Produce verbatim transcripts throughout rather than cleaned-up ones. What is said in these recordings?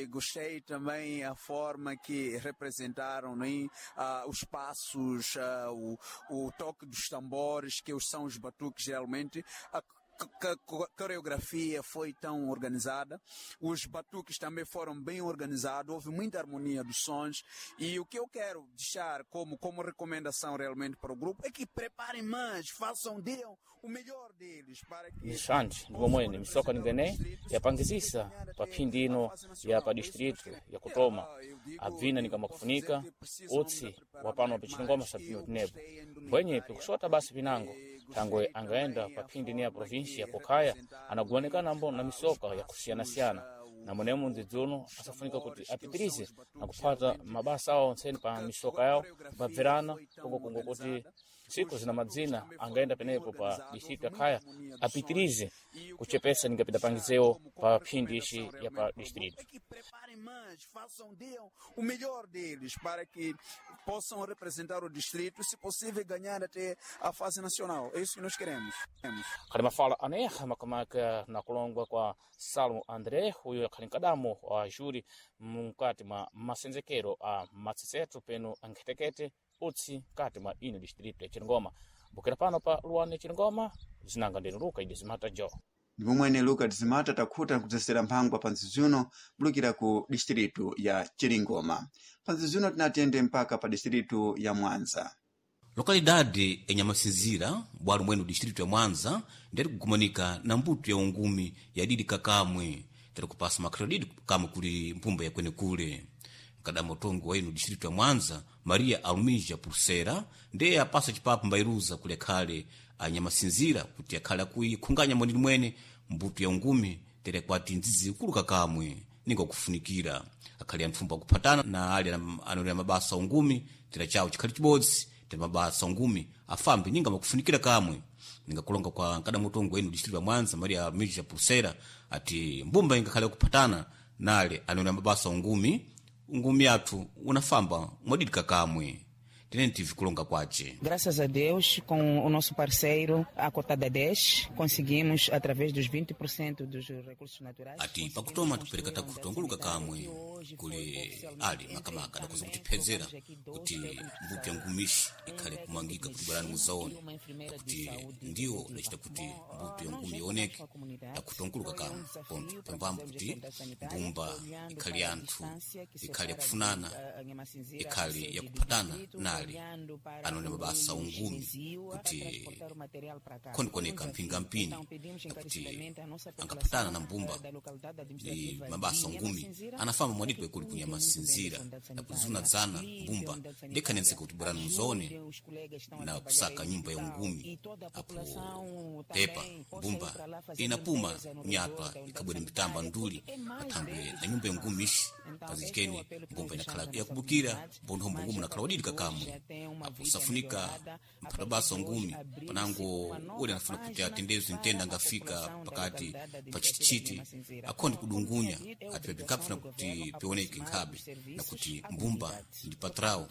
E gostei também a forma que representaram, né, ah, os passos, ah, o, o toque dos tambores, que são os batuques geralmente. A coreografia foi tão organizada, os batuques também foram bem organizados, houve muita harmonia dos sons e o que eu quero deixar como, como recomendação realmente para o grupo é que preparem mais, façam, deem o melhor deles para que Nixanji ndipo mwene misoka ningene yapangizisa pa phindi ino ya pa distrito ya Kutoma abvina nikamakufunika utsi wa pano pa Chilingoma sabino tinepo mbwenye pikusota basi pinango thangwe angaenda pa phindi ni ya provinsia ya Kokhaya anaguwanikana mbo na misoka ya kusiyanasiyana na mwenemo mdzidzi asafunika kuti apitirize na kuphata mabasa awo ontseni pa misoka yawo kupabverana kongokongo kuti tsiku zina madzina angaenda penepo pa distrito ya Khaya apitirize kuchepesa ningapita pangizewo pa phindi ici ya pa distrito. É que preparem mais, façam, deem o melhor deles para que possam representar o distrito e, se possível, ganhar até a fase nacional. É isso que nós queremos. Queremos. Khali mafala aneha makamaka na kulongwa kwa Salomo André uyo akhali mkadamo wa juri mukati mwa masenzekero a matsetseto peno ankhetekete utsi mkati mwa ino distrito ya Chilingoma bukira pano pa luwane Chilingoma zinanga ndinu Luka idi zimata jo Ndipo mwene Luka Tizimata takhuta nkudzesera mphangwa pa nzizuno bulukira ku distritu ya Chiringoma. Pa nzizuno tinatiyende mpaka pa distritu ya Mwanza. Lokalidade enyamasinzira bwalo mwene distrito ya Mwanza ndiyati kugumanika na mbuto ya ungumi yadidi kakamwe tiri kupasa makrediti kamwe kuli mpumba yakwenekule mkadamo utongo wa inu distrito ya Mwanza Maria Alumija Pulsera ndiye apasa chipapo mbairuza kuli akhale anyamasinzira kuti akhale akuikhunganya mwanini mwene mbuto ya ungumi tere kwati nzizi ikulu kakamwe ninga kufunikira akhale antfumbo akuphatana na ali anonera mabasa ungumi tera chawo chikhali chibodzi tere mabasa ungumi afambe ninga makufunikira kamwe ninga kulonga kwa nkadamutongo wenu distrito ya Mwanza Maria Alumija Pulsera ati mbumba ingakhale kuphatana nale anonera mabasa ungumi ungumi athu unafamba mwadidika kamwe tenene tive kulonga kwace. Graças a Deus, com o nosso parceiro, a Cotada dez, conseguimos, através dos vinte por cento dos recursos naturais. Ati pakutoma tipereka takhuta onguluka kamwe kuli ali makamaka adakoza kutiphedzera kuti mbuto ya ngumishi ikhale kumangika kuti bwerani muzaone kuti ndiwo adacita kuti mbuto ya ngumi ioneke takhuta onguluka kamwe ponto pambambo kuti mbumba ikhale ya anthu ikhale yakufunana ikhale yakuphatana nali anone mabasa ungumi kuti khondikoneka mphingampini kuti angaphatana na mbumba ni mabasa ungumi anafamba mwadidi kwekuli kunyamasinzira na kuzunadzana mbumba ndikhanenseka kuti bwerani muzaone na kusaka nyumba ya ungumi apo tepa mbumba inapuma nyatwa ikhabwere mitamba nduli athangwe na nyumba ya ungumi ishi pazichikene mbumba inakhala yakubukira mponthombo ngumi unakhala wadidi kakamwe apo safunika mphata basa ungumi panango uli anafuna kuti atendeze mtenda angafika pakati pa chitichiti akhonde kudungunya ati pinkapfuna kuti pioneke nkhabe na kuti mbumba ndi patrao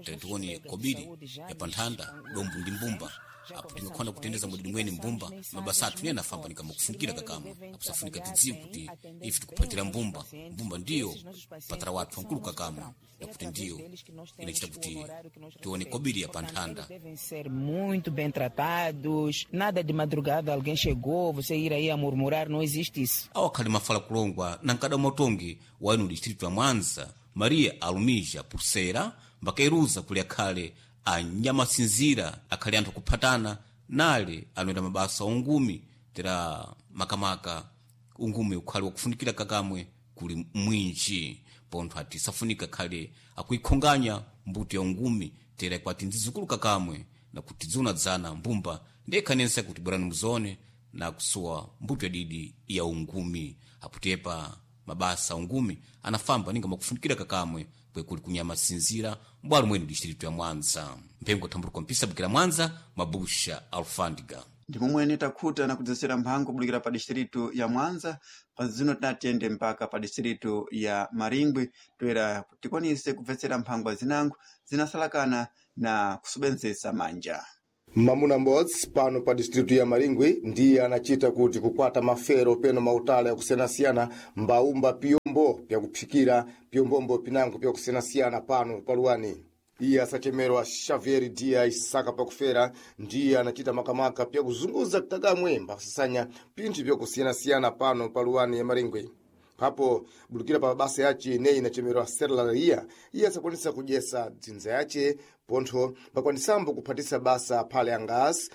tatione kobiri ya panthanda dombo ndi mbumba apo tingakhona kutendeza mudidi mwene mbumba mabasa athu niye anafamba nikamakufunikira kakamwe apo safunika tidziwe kuti ife tikuphatira mbumba mbumba ndiyo patra wathu ankulu kakamwe na kuti ndiyo inachita kuti tione kobiri ya panthanda. Devem ser muito bem tratados, nada de madrugada alguém chegou, você ir aí a murmurar, não existe isso. Awo akhali mafala kulongwa na mkada umatongi wa inu distrito ya Mwanza Maria Alumija Pulsera mbakairuza kuli akhale anyamasinzira akhale anthu akuphatana nale anoita mabasa ungumi tera makamaka ungumi ukhale wakufunikira kakamwe kuli mwinji pontho ati safunika khale akuikhonganya mbuto ya ungumi tera kwati nzizukulu kakamwe na kuti dzunadzana mbumba ndiyekhanensa kuti bwerani muzone na kusuwa mbuto yadidi ya ungumi apotepa mabasa ungumi anafamba ninga makufunikira kakamwe kwekuli kunyamasinzira mbwalo mwene distrito ya Mwanza mphengo thambuliko mpisa bukira Mwanza mabusha alfandiga. Ndipo mwene takhuta na kudzesera mphango bulukira pa distritu ya Mwanza. Pa zino tinatiyende mpaka pa distritu ya Maringwe toera tikwanise kubvetsera mphangwa zinango zinasalakana na kusubenzesa manja. Mamuna m'bodzi pano pa distritu ya Maringwi ndiye anachita kuti kukwata mafero peno mautala yakusiyanasiyana mbaumba piyombo pyakuphikira piyombombo pinango pyakusiyanasiyana pano paluwani. Iye asachemerwa Xavier Dias Isaka pakufera ndiye anachita makamaka pyakuzunguza kakamwe mbasasanya pinthu pyakusiyanasiyana pano paluwani ya Maringwi. Papo bulukira pa basa yace ineyi inachemerwa serelaria iye asakwanisa kudyesa dzinza yace pontho pakwanisambo kuphatisa basa aphale angasi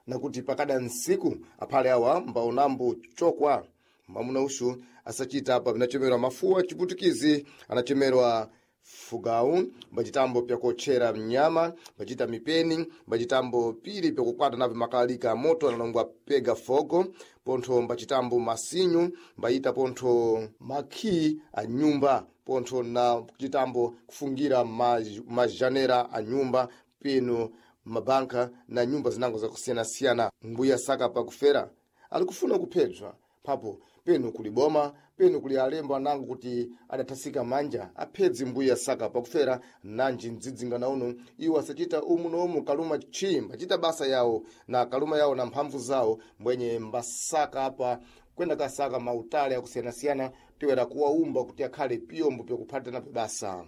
nakuti pakada ntsiku aphale awa mbaonambo chokwa. Mwamuna uxu asachita apa pinachemerwa mafuwa chiputikizi anachemerwa fugau mbacitambo pyakotchera mnyama mbacita mipeni mbacitambo pili pyakukwata navyo makalalika amoto analongwa pega fogo pontho mbacitambo masinyu mbayita pontho makhi a nyumba pontho na kucitambo kufungira maj- majanera a nyumba peno mabanka na nyumba zinango zakusiyanasiyana. Mbuya saka pakufera ali kufuna kuphedzwa papo penu kuli boma penu kuli alembo anango kuti adathasika manja aphedzi mbuya saka pakufera nanji mdzidzingana uno iwo asachita umu noumu kaluma chi mbachita basa yawo na kaluma yawo na mphamvu zawo mbwenye mbasaka apa kwenda kasaka mautale akusiyanasiyana tiwera kuwaumba kuti akhale piyombo pyakuphatana basa.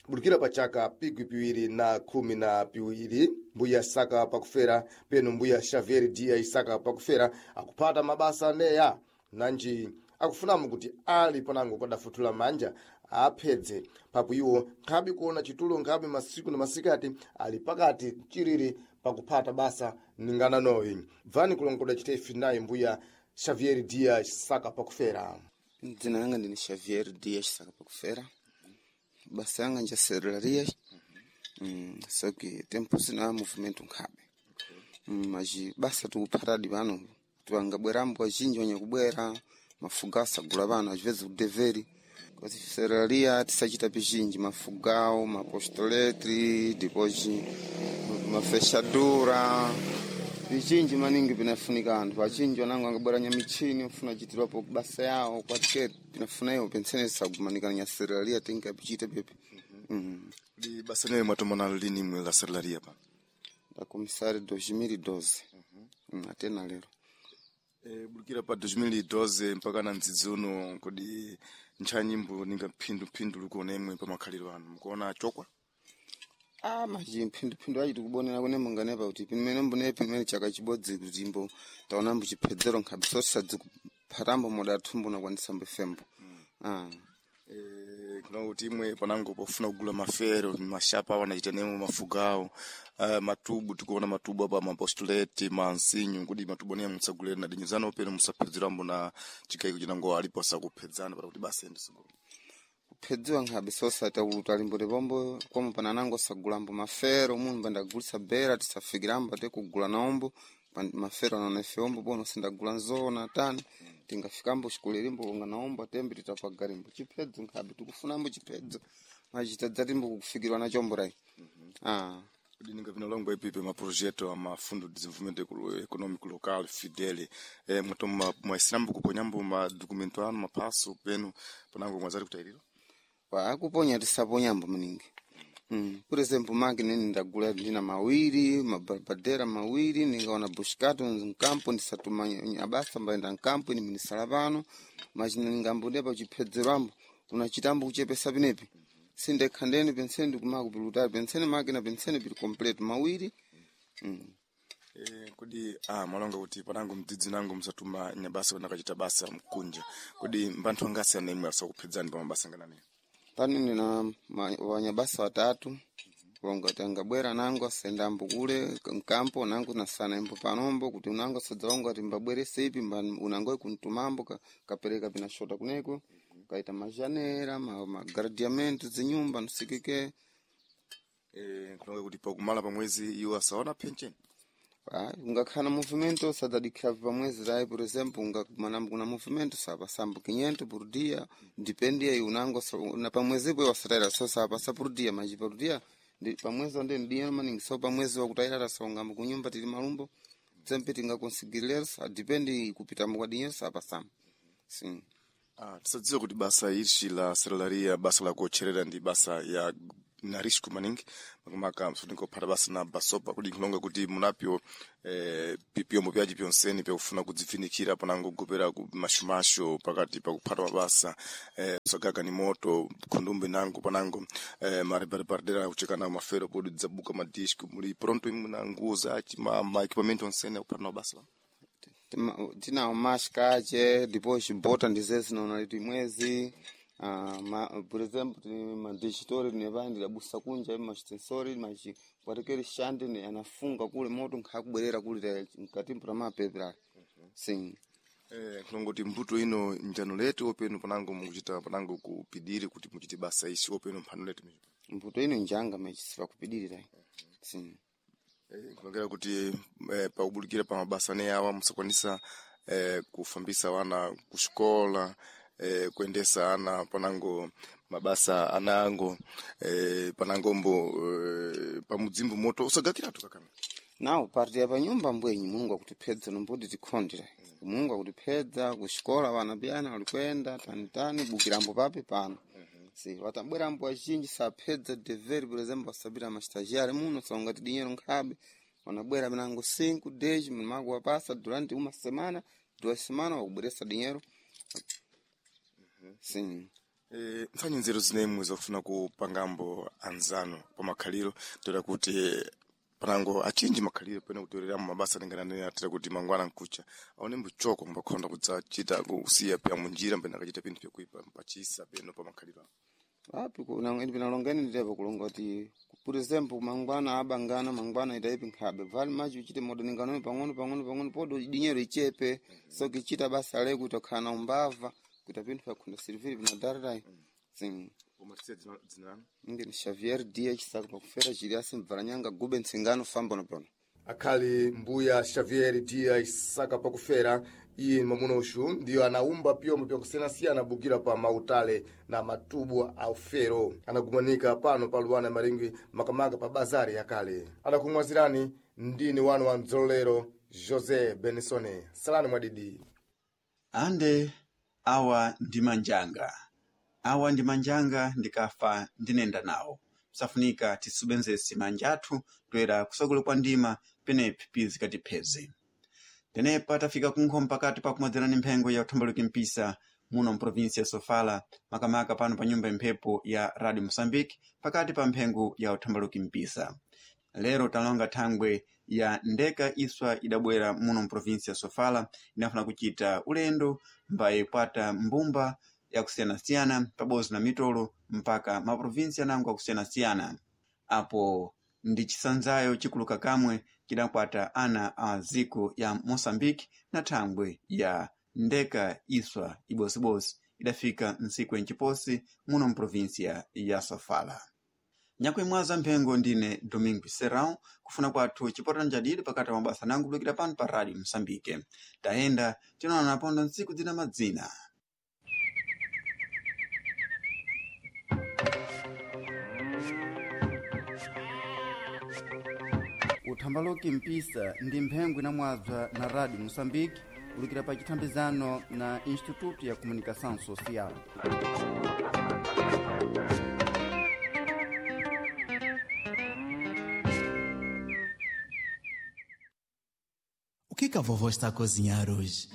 Bulukira pa chaka pikwi piwiri na khumi na piwiri mbuya saka pakufera peno mbuya Xavier Dias Isaka pakufera akuphata mabasa aneya nanji akufunamo kuti ali panango kwadafuthula manja aphedze papo iwo nkhabe kuona chitulo nkhabe masiku na masikati ali pakati chiriri pakuphata basa ningana noyi. Bvani kulongoda chitefi naye mbuya Xavier Dias Isaka pakufera. Dzina langa ndini Xavier Dias Isaka pakufera. Basa yanga nja serraria. Mm, só que tempo sina movimento nkhabe. Mm, mas basa tikuphatadi pano tiwangabwerambo azhinji wanyakubwera mafuga asagula pano às vezes udeveri kasi serraria tisachita pizhinji mafugao mapostoletri depois mafechadura pizhinji maningi pinafunika anthu achinji wanango angabwera nyamichini ofuna chitirwapo basa yawo kwatike pinafuna iwo pensene tisagumanikana nya serraria tingapichita pepe. Mm. Ndi basa newe mwatomana lini mwe la serelaria pano? Da comissário dois mil e doze. Mm, até na lero. E, bulukira pa dois mil e doze mpaka na mdzidzi uno kodi ntchanyimbo ninga phindu likuona imwe pa makhaliro anu mukuona chokwa? Ah, maji mphinduphindu ayi tikubonera kune munganepa kuti pimene mbune pimene chaka chibodzi kuti imbo taona mbuchiphedzero nkhabe sosadzikuphatambo modathumbo nakwanisa mbefembo. Ah. E, kuna kuti imwe panango pofuna kugula mafero mashapa awo anachita nemo mafugawo uh, matubu tikuona matubu apa mapostuleti mansinyu kodi matubu aneya musagulere na dinyizano peno musaphedzerambo na chikayiko chinango alipo asakuphedzana para kuti basa ende sogolo. Kuphedziwa nkhabe sosata utalimbo pombo komo pananango sagulambo mafero munthu pandagulisa bera tisafikirambo ate kugula naombo pan- mafero anaona ife ombo bono sindagula nzona tani tingafikambo xikulirimbo konga naombo atembe titapagarimbo chiphedzo nkhabe tikufunambo chiphedzo machitadzatimbo kukufikirwa na chombo rai. Ah. Kodi ninga vinalongwa ipipe ma projeto ama fundo de desenvolvimento eco- econômico local fidel eh, mwatoma mwaisirambo kuponyambo ma documento anu mapaso penu panango mwazari kutayirira Akuponya tisaponyambo maningi. Mm. Por exemplo, máquina ndagula ndina mawiri, mabarbadera mawiri, ningaona bushkato nkampo ndisatuma abasa mbaenda nkampo ini minisala pano, mas ningambude pa chiphedzero kuna chitambo kuchepesa pinepi. Sindekha ndeni penseni ndikumakupilutali penseni máquina penseni pili complete mawiri. Mm. Eh, kodi ah, mwalonga kuti panango mdzidzi nango musatuma nyabasa pana kachita basa mkunja kodi mbanthu angasi ana imwe asakuphedzani pa mabasa nganani? Pano nina ma- wanyabasa watatu wangati angabwera nango asendambo kule nkampo nango nasana imbo panombo kuti unango asadzaonga ati mbabwerese ipi mba unangoi kuntumambo ka, kapereka pinashota kuneko kaita majanera ma, magradiamento zinyumba nsikike. Eh, kulonga kuti pakumala pa mwezi iwo asaona pension. Ah, ungakhala movimento sadadikira pamwezi rai por exemplo ungakumanambo kuna movimento sapasambo quinhentos por dia depende aí unango sa- na pamwezipo iwasataira so sapasa por dia mas por dia ndi pamwezi onde dinheiro maningi so pamwezi wakutairara saungambo kunyumba tili malumbo sempre tingakonsigirira sa depende kupitambo kwa dinheiro sapasambo sim. Ah, tisadziwa kuti basa ichi la serelaria basa la kuotcherera ndi basa ya na risco maningi makamaka mfunika kuphata basa na basopa kuti nkhulonga kuti munapyo eh, pi- piyombo pyaci pyonsene pyakufuna kudzifinikira panango kugopera ku mashumashu pakati pakuphata mabasa eh, kusagaga ni moto khundumbe nango panango eh, maribaribardera kuchekana mafero podi dzabuka madisco muli pronto imwe na nguwo zaci ma, ma equipamento onsene akuphata na mabasa Tima- tinawo mask ace depois bota ndize zinaona liti mwezi. Ah, ma, por exemplo tini madigitori tinepaya ndidabusa kunja machitensori machipatikeri shandi ni anafunga kule moto nkhakubwerera kule mkatimpo tamapepera sim. Eh, nkhulonga mbuto ino njano letu openu panango mukuchita panango kupidiri kuti muchite basa isi openu mphano letu Mbuto ino njanga machisipa kupidirira sim. Eh, nkulongera kuti eh, pakubulikira pa mabasa ne awa musakwanisa eh, kufambisa wana kuxikola eh, kuendesa ana panango mabasa anango eh, panangombo eh, pamudzimbu moto usagakiratu kakana Nawo parti ya panyumba mbwenyi Mulungu akutiphedza nombodi tikhondera Mulungu akutiphedza kuxikola vana piyana walikwenda tanitani bukirambo pape pano si watambwerambo azhinji saphedza deveri por exemplo asabira mastagiário muno saungati dinheiro nkhabe wanabwera minango cinco dez mmago wapasa durante uma semana duas semanas wakubweresa dinheiro sim. Eh, mpfanyi nzeru zinemwe zofuna kupangambo anzano pa makhaliro toera kuti panango achinji makhaliro pene kutoreramo mabasa alingana atira kuti mangwana nkucha aone mbuchoko mbakhonda kudzachita kusiya pya munjira mbene akachita pinthu pyakuipa mpachisa peno pa makhaliro Api pinalongeni nditepa kulonga kuti por exemplo mangwana abangana mangwana itaipi nkhabe vali machi uchite modaninganoyo pang'ono pang'ono pang'ono podo dinheiro ichepe so kichita basa le kuti akhala na umbava kuita pinthu pakhunda siriviri pinadararai sim. umatisiya dzina lanu Ndini Xavier Dias Chisaka pakufera Julius Mvaranyanga Gube Ntsingano fambono pano. Akhali mbuya Xavier Dias Saka pakufera iye ni mwamuna uxu ndiyo anaumba pyombo pyakusiyanasiyana bukira pa mautale na matubu a ufero anagumanika pano pa luwana ya Maringwi makamaka pa bazari yakale adakumwazirani ndini wanu wa mdzololero José Benisone salani mwadidi. Ande awa ndi manjanga awa ndi manjanga ndikafa ndinenda nawo safunika tisubenzese manja athu toera kusogolo kwa ndima penepi pizikatipheze tenepa tafika kunkho mpakati pakumwadzerani mphengo ya uthambaluki mpisa muno mprovinsi ya Sofala makamaka pano pa nyumba imphepo ya Radio Mosambike pakati pa mphengo ya uthambaluki mpisa lero talonga thangwe ya ndeka iswa idabwera muno mprovinsi ya Sofala inafuna kuchita ulendo mbaye kwata mbumba yakusiyanasiyana pabodzi na mitolo mpaka maprovinsi anango akusiyanasiyana apo ndi chisanzayo chikuluka kamwe chidakwata ana a ziko ya Moçambique na thangwe ya ndeka iswa ibosibosi idafika ntsiku enciposi muno mprovinsia ya Sofala. Nyakuimwaza mphengo ndine Domingo Serrão kufuna kwathu chipotana njadidi pakati pa mabasa nangu kulukira pano pa Radio Moçambique. Tayenda tinaona napondo ntsiku dzina madzina. Uthambaloki mpisa ndi mphengo inamwadzwa na Radio Moçambique kulukira pa chithambizano na Instituto ya Comunicação Social. O que que a vovó está a cozinhar hoje?